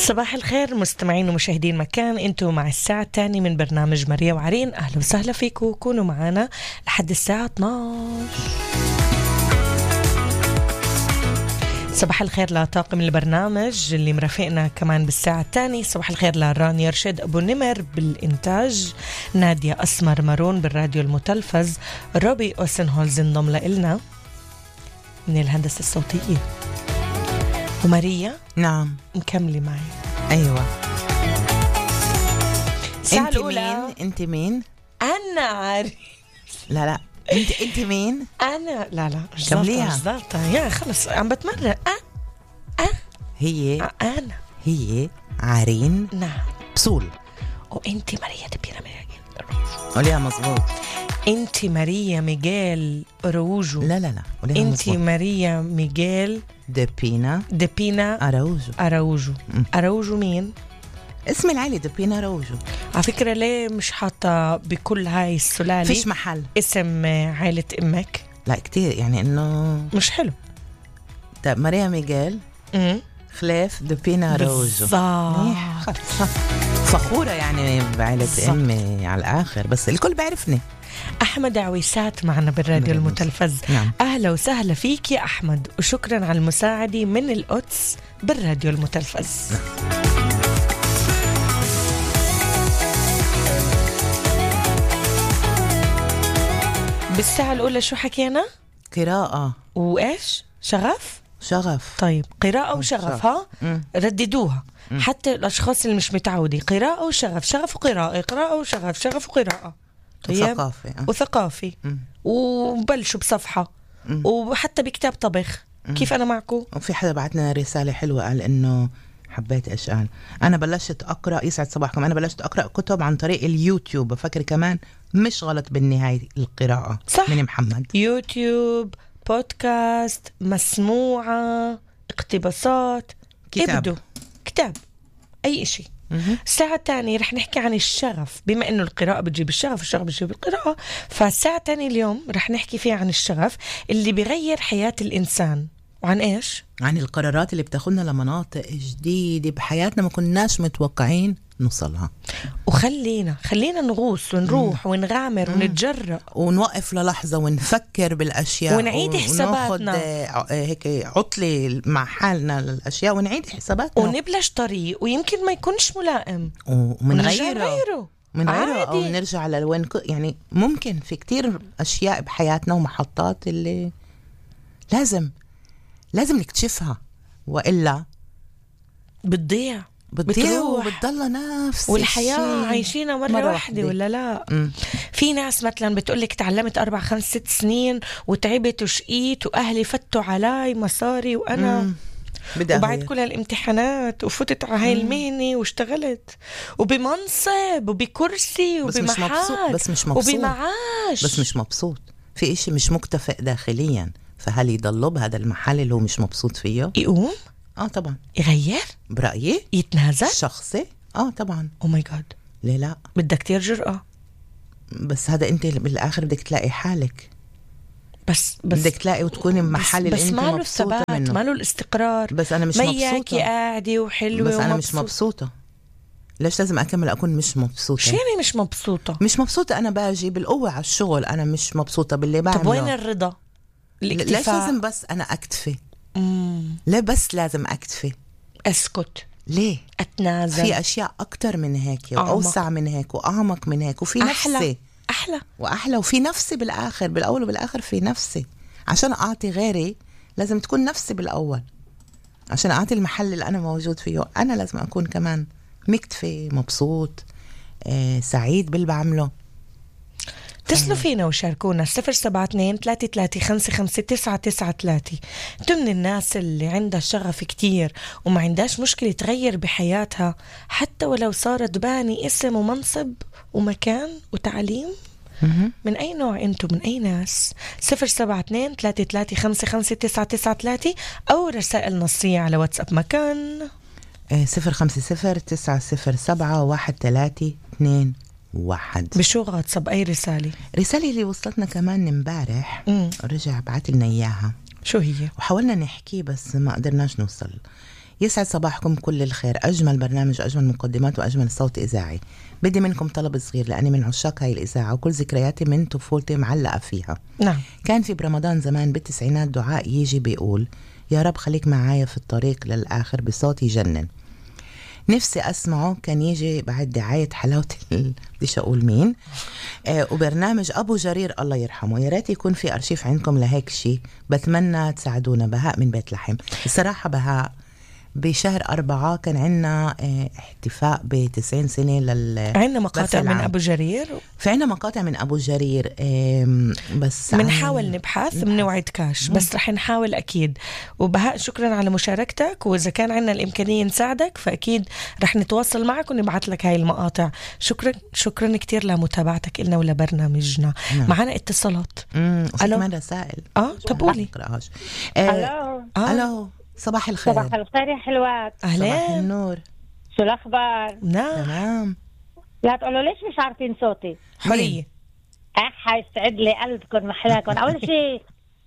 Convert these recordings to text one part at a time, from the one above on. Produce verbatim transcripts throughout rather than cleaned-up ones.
صباح الخير مستمعين ومشاهدين مكان، انتوا مع الساعة الثانية من برنامج ماريا وعرين. أهلا وسهلا فيكم، كونوا معنا لحد الساعة اثناشر. صباح الخير لطاقم البرنامج اللي مرافقنا كمان بالساعة الثانية. صباح الخير لراني يرشد أبو نمر بالإنتاج، نادية أسمر مارون بالراديو المتلفز، روبي أوسنهولز انضم لنا من الهندسة الصوتية، وماريا نعم مكملة معي. أيوة. انت مين؟ انت مين؟ أنا عارف. لا لا انت انت مين؟ أنا لا لا مش كمليها. ظابطة يا خلص عم بتمرن. أه أه هي أه أنا هي عرين نعم بسول، وأنت ماريا دبيرة ميغيل. قوليها مظبوط. أنت ماريا ميغيل أروجو. لا لا لا قوليها أنت مظبوط. ماريا ميغيل دبينا دبينا أراوجو. أراوجو. أراوجو مين؟ اسم العائلة دبينا أراوجو. على فكرة ليه مش حاطة بكل هاي السلالة فيش محل اسم عائلة أمك؟ لا كتير، يعني إنه مش حلو. طيب ماريا ميغيل امم خلاف دبينا أراوجو. بالضبط. فخورة يعني بعائلة أمي على الآخر، بس الكل بيعرفني. أحمد عويسات معنا بالراديو المتلفز. نعم. أهلا وسهلا فيك يا أحمد، وشكرا على المساعدة من القدس بالراديو المتلفز. نعم. بالساعة الأولى شو حكينا؟ قراءة وإيش؟ شغف؟ شغف. طيب قراءة وشغف، ها؟ مم. رددوها. مم. حتى الأشخاص اللي مش متعودين، قراءة وشغف، شغف وقراءة، قراءة وشغف، شغف وقراءة. طيب. وثقافي. أه. وثقافي. مم. وبلشوا بصفحة. مم. وحتى بكتاب طبخ. مم. كيف أنا معكم؟ وفي حدا بعتنا رسالة حلوة قال إنه حبيت إيش قال. أنا بلشت أقرأ، يسعد صباحكم، أنا بلشت أقرأ كتب عن طريق اليوتيوب. بفكر كمان مش غلط بالنهاية القراءة. صح. من محمد. يوتيوب، بودكاست، مسموعة، اقتباسات، كتاب. ابدو كتاب، أي إشي. مم. الساعة الثانية رح نحكي عن الشغف، بما إنه القراءة بتجيب الشغف، الشغف بتجيب القراءة. فالساعة الثانية اليوم رح نحكي فيها عن الشغف اللي بيغير حياة الإنسان. وعن إيش؟ عن القرارات اللي بتاخدنا لمناطق جديدة بحياتنا ما كناش متوقعين نوصلها. وخلينا خلينا نغوص ونروح مم. ونغامر مم. ونتجرأ ونوقف للحظة ونفكر بالأشياء ونعيد حساباتنا، وناخد هيك عطلة مع حالنا للأشياء ونعيد حساباتنا، ونبلش طريق ويمكن ما يكونش ملائم ومن غيره غيره من غيره أو نرجع لوين. يعني ممكن في كتير أشياء بحياتنا ومحطات اللي لازم لازم نكتشفها، وإلا بتضيع بتضيع وبتضل نفس والحياة الشيء. عايشينها مرة, مرة واحدة ولا لا؟ م. في ناس مثلا بتقولك تعلمت أربع خمس ست سنين وتعبت وشقيت وأهلي فتوا علي مصاري وأنا م. وبعد كل هالامتحانات وفتت على هاي المهنة واشتغلت وبمنصب وبكرسي وبمحل بس مش مبسوط وبمعاش، بس مش مبسوط في إشي مش مكتفئ داخليا. فهل يضل بهذا المحل اللي هو مش مبسوط فيه؟ يقوم اه طبعا يغير برأيي، يتنازل شخصي. اه طبعا. او ماي جاد، ليه لا؟ بدك كتير جرأة. بس هذا انت بالاخر بدك تلاقي حالك، بس بس بدك تلاقي وتكوني بمحل اللي انت مبسوطه منه. ماله الاستقرار. بس انا مش مبسوطه، قاعده وحلوه بس انا ومبسوط. مش مبسوطه. ليش لازم اكمل اكون مش مبسوطه؟ شو يعني مش مبسوطه؟ مش مبسوطه، انا باجي بالقوه على الشغل، انا مش مبسوطه باللي بعمله. طب وين الرضا؟ الاكتفاء. ليش لازم بس انا اكتفي؟ مم. ليه بس لازم اكتفي؟ اسكت. ليه؟ اتنازل. في اشياء اكتر من هيك واوسع من هيك واعمق من هيك، وفي أحلى. نفسي احلى واحلى، وفي نفسي بالاخر، بالاول وبالاخر في نفسي. عشان اعطي غيري لازم تكون نفسي بالاول، عشان اعطي المحل اللي انا موجود فيه انا لازم اكون كمان مكتفي، مبسوط، آه، سعيد باللي بعمله. اتصلوا فينا وشاركونا صفر سبعة اثنين ثلاثة ثلاثة خمسة خمسة تسعة تسعة ثلاثة. انتوا من الناس اللي عندها شغف كتير وما عندهاش مشكلة تغير بحياتها حتى ولو صارت باني اسم ومنصب ومكان وتعليم؟ من أي نوع أنتم؟ من أي ناس؟ صفر سبعة اثنين ثلاثة ثلاثة خمسة خمسة تسعة تسعة ثلاثة أو رسائل نصية على واتساب مكان صفر خمسة صفر تسعة صفر سبعة واحد ثلاثة اثنين واحد. بشو غاتصب أي رسالة؟ رسالة اللي وصلتنا كمان امبارح، رجع بعت لنا إياها. شو هي؟ وحاولنا نحكي بس ما قدرناش نوصل. يسعد صباحكم كل الخير. أجمل برنامج، أجمل مقدمات، وأجمل صوت إذاعي. بدي منكم طلب صغير لأني من عشاق هاي الإذاعة وكل ذكرياتي من طفولتي معلقة فيها. نعم. كان في برمضان زمان بالتسعينات دعاء يجي بيقول يا رب خليك معايا في الطريق للآخر بصوت يجنن. نفسي أسمعه. كان يجي بعد دعاية حلاوة بديش أقول مين آه وبرنامج أبو جرير الله يرحمه. يا ريت يكون في أرشيف عندكم لهيك شيء. بتمنى تساعدونا. بهاء من بيت لحم. الصراحة بهاء بشهر أربعة كان عنا اه احتفاء بتسعين سنة لل عنا مقاطع من أبو جرير. في عنا مقاطع من أبو جرير اه بس منحاول نبحث من وعد كاش. بس رح نحاول أكيد. وبهاء شكرا على مشاركتك، وإذا كان عنا الإمكانية نساعدك فأكيد رح نتواصل معك ونبعث لك هاي المقاطع. شكرا شكرا كتير لمتابعتك إلنا ولبرنامجنا. نعم. معنا اتصالات. امم كمان رسائل. اه طب قولي. الو الو صباح الخير. صباح الخير يا حلوات. أهلا. صباح النور. شو الأخبار؟ نعم تمام. لا تقولوا ليش مش عارفين صوتي. حرية. أح يسعد لي قلبكم محلاكم. أول شيء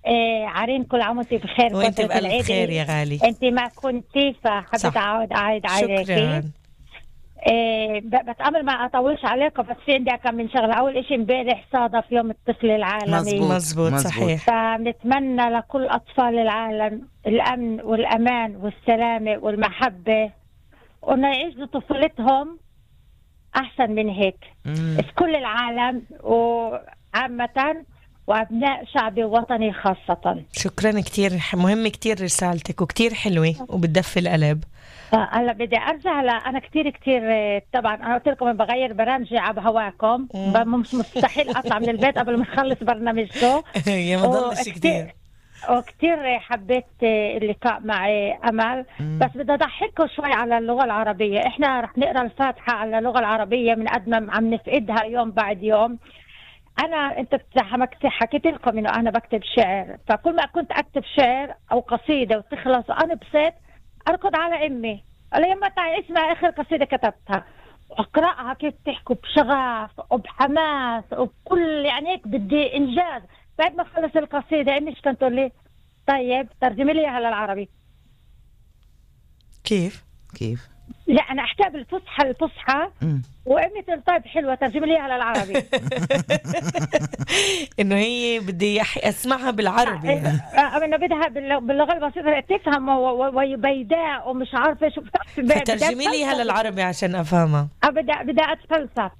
إيه عارين كل عام وانتي بخير. وانت بألف خير يا غالي. انت ما كنتي فحبيت أعود أعيد عليكي. شكرا. إيه بتأمل ما أطولش عليكم، بس في عندي كم من شغلة. أول إشي امبارح صادف يوم الطفل العالمي. مزبوط صحيح. فنتمنى لكل أطفال العالم الأمن والأمان والسلامة والمحبة، وإنه يعيشوا طفولتهم أحسن من هيك. في كل العالم وعامة، وأبناء شعبي ووطني خاصة. شكرا كتير. مهم كتير رسالتك وكتير حلوة وبتدفي القلب. هلا بدي ارجع. لا انا كتير كتير طبعا انا قلت لكم بغير برامجي على هواكم. مش مستحيل اطلع من البيت قبل ما اخلص برنامجكم. يا ما ضلش كتير. وكتير حبيت اللقاء معي امل. مم. بس بدي اضحككم شوي على اللغه العربيه. احنا رح نقرا الفاتحه على اللغه العربيه من قد ما عم نفقدها يوم بعد يوم. انا انت حكيت لكم انه انا بكتب شعر، فكل ما كنت اكتب شعر او قصيده وتخلص انا بصيت اركض على امي قال لي يما تعي اسمع اخر قصيده كتبتها، واقراها كيف تحكوا بشغف وبحماس وبكل يعني هيك بدي انجاز. بعد ما خلص القصيده امي ايش كانت تقول لي؟ طيب ترجمي لي اياها للعربي. كيف كيف؟ لا انا احكيها بالفصحى الفصحى وامي تقول طيب حلوه ترجمي لي اياها للعربي. انه هي بدي اسمعها بالعربي. اه انه بدها باللغه البسيطه تفهم وبيداء ومش عارفه شو. فترجمي لي اياها للعربي عشان افهمها. اه بدي بدي اتفلسف.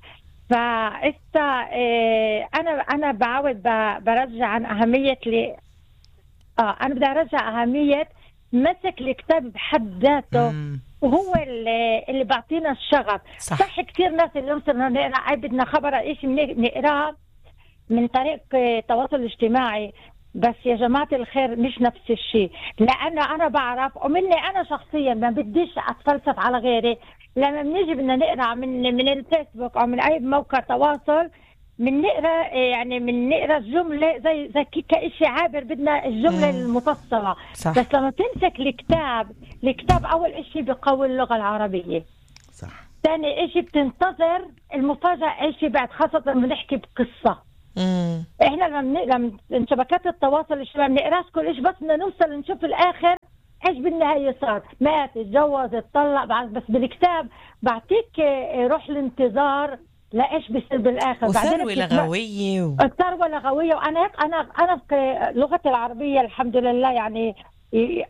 فإستا إيه انا انا بعود برجع عن اهميه لي اه انا بدي ارجع اهميه مسك الكتاب بحد ذاته. مم. وهو اللي اللي بيعطينا الشغف. صح, صح كثير ناس اليوم صرنا نقرا اي بدنا خبر ايش نقراه من طريق التواصل الاجتماعي. بس يا جماعه الخير مش نفس الشيء. لانه انا بعرف ومني انا شخصيا ما بديش اتفلسف على غيري. لما بنيجي بدنا نقرا من من الفيسبوك او من اي موقع تواصل من نقرا يعني من نقرا الجمله زي زي كشيء عابر. بدنا الجمله مم. المفصله. صح. بس لما تمسك الكتاب الكتاب اول شيء بيقوي اللغه العربيه. صح. ثاني شيء بتنتظر المفاجاه اي شيء بعد، خاصه لما نحكي بقصه. مم. احنا لما لما شبكات التواصل الاجتماعي بنقراش كل شيء، بس بدنا نوصل نشوف الاخر ايش بالنهايه صار. مات اتجوز اتطلق. بس بالكتاب بعطيك روح الانتظار لايش بيصير بالاخر. وثروه لغويه و... الثروه لغويه. وانا هيك انا انا في لغتي العربيه الحمد لله يعني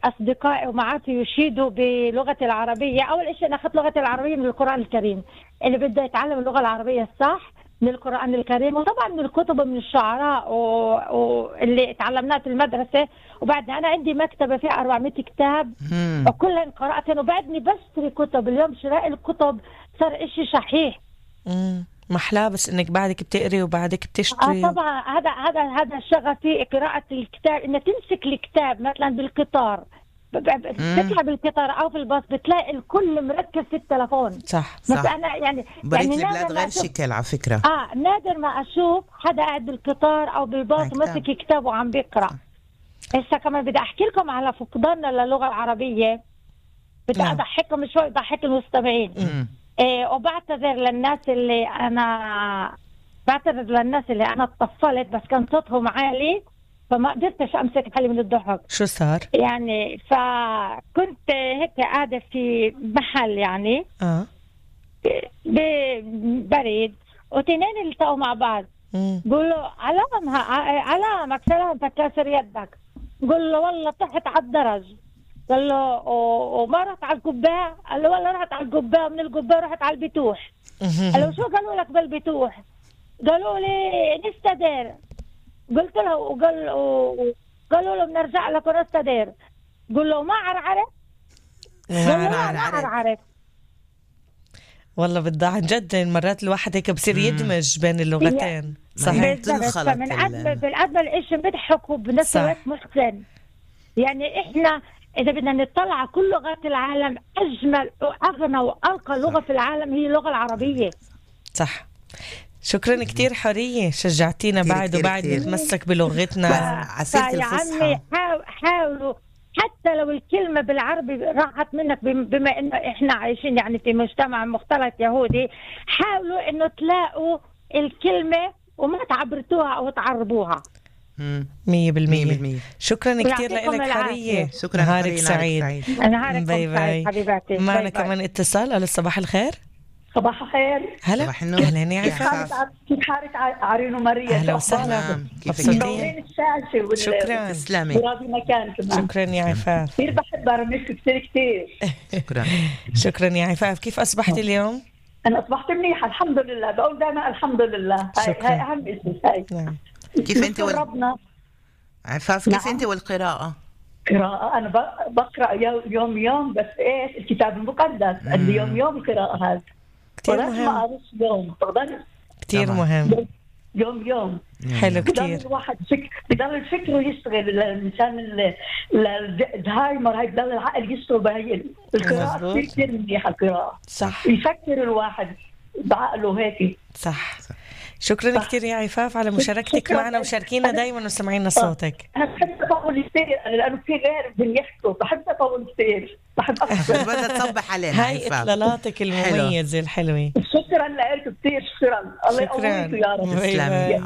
اصدقائي ومعارفي يشيدوا بلغتي العربيه. اول شيء انا اخذت لغتي العربيه من القران الكريم. اللي بده يتعلم اللغه العربيه الصح من القران الكريم، وطبعا من الكتب ومن الشعراء واللي تعلمناه في المدرسه. وبعدها انا عندي مكتبه فيها أربعمية كتاب وكلهم قراتهم، وبعدني بشتري كتب. اليوم شراء الكتب صار إشي شحيح. امم محلاه بس انك بعدك بتقري وبعدك بتشتري. اه طبعا هذا هذا هذا شغفي قراءه الكتاب. انك تمسك الكتاب مثلا بالقطار بتطلع بالقطار او في الباص بتلاقي الكل مركز في التلفون. صح صح. انا يعني بريت يعني البلاد غير شكل على فكره. اه نادر ما اشوف حدا قاعد بالقطار او بالباص وماسك كتاب وعم بيقرا. هسه كمان بدي احكي لكم على فقداننا للغه العربيه. بدي نعم. اضحككم شوي ضحك المستمعين. إيه وبعتذر للناس اللي انا بعتذر للناس اللي انا اتصلت بس كان صوتهم عالي. فما قدرتش امسك حالي من الضحك. شو صار؟ يعني فكنت هيك قاعدة في محل يعني اه بريد، وتنين التقوا مع بعض. قول له علام علامك سلام تكسر يدك. قول له والله طحت على الدرج. قال له وما رحت على القباء؟ قال له والله رحت على القباء، من القباء رحت على البتوح. قال له شو قالوا لك بالبتوح؟ قالوا لي نستدير. قلت له وقال قالوا له بنرجع لك ونستدير. قل له ما عرعرف. قال له ما عرعرف. والله بالضاع عن جد مرات الواحد هيك بصير يدمج بين اللغتين. صحيح. من أجمل بالأجمل إيش بنضحك وبنفس الوقت محسن. يعني إحنا إذا بدنا نطلع كل لغات العالم، أجمل وأغنى وأرقى لغة في العالم هي اللغة العربية. صح. شكرا كتير حورية، شجعتينا بعد وبعد نتمسك بلغتنا. عسيرة الفصحى. حاولوا حتى لو الكلمة بالعربي راحت منك، بما إنه إحنا عايشين يعني في مجتمع مختلط يهودي، حاولوا إنه تلاقوا الكلمة وما تعبرتوها أو تعربوها. مية بالمية. شكرا كتير لك حورية. شكرا. نهارك سعيد. نهارك سعيد حبيباتي. معنا كمان اتصال. ألو صباح الخير. صباح الخير. هلا. أهلا يا عفاف. كيف حالك عرين ومريم؟ أهلا وسهلا. مبسوطين الشاشة. شكرا. تسلمي. وراضي مكان كمان. شكرا يا عفاف. كثير بحب برامجك كثير كثير. شكرا. شكرا يا عفاف. كيف أصبحتي اليوم؟ أنا أصبحت منيحة الحمد لله. بقول دائما الحمد لله. هاي هاي أهم شيء. هاي. نعم. كيف أنت وال... ربنا. عفاف كيف نعم. أنت والقراءة؟ قراءة أنا بقرأ يوم يوم، بس إيش الكتاب المقدس عندي يوم يوم القراءة هذا كتير مهم. يوم كتير مهم. يوم يوم حلو كتير. الواحد فك... بضل الفكر يشتغل. الإنسان الزهايمر هاي بضل العقل يشتغل بهي القراءة. كتير كتير منيحة القراءة. صح. يفكر الواحد بعقله هيك. صح. شكرا كثير يا عفاف على مشاركتك معنا، وشاركينا دايما وسمعينا صوتك. أنا بحب أطول كثير لأنه في غير بنيحكوا، بحب أطول كثير، بحب أفكر. بدها تصبح علينا. هاي إطلالاتك المميزة الحلوة. شكرا لك كثير. شكرا. الله يقويك يا رب. تسلمي.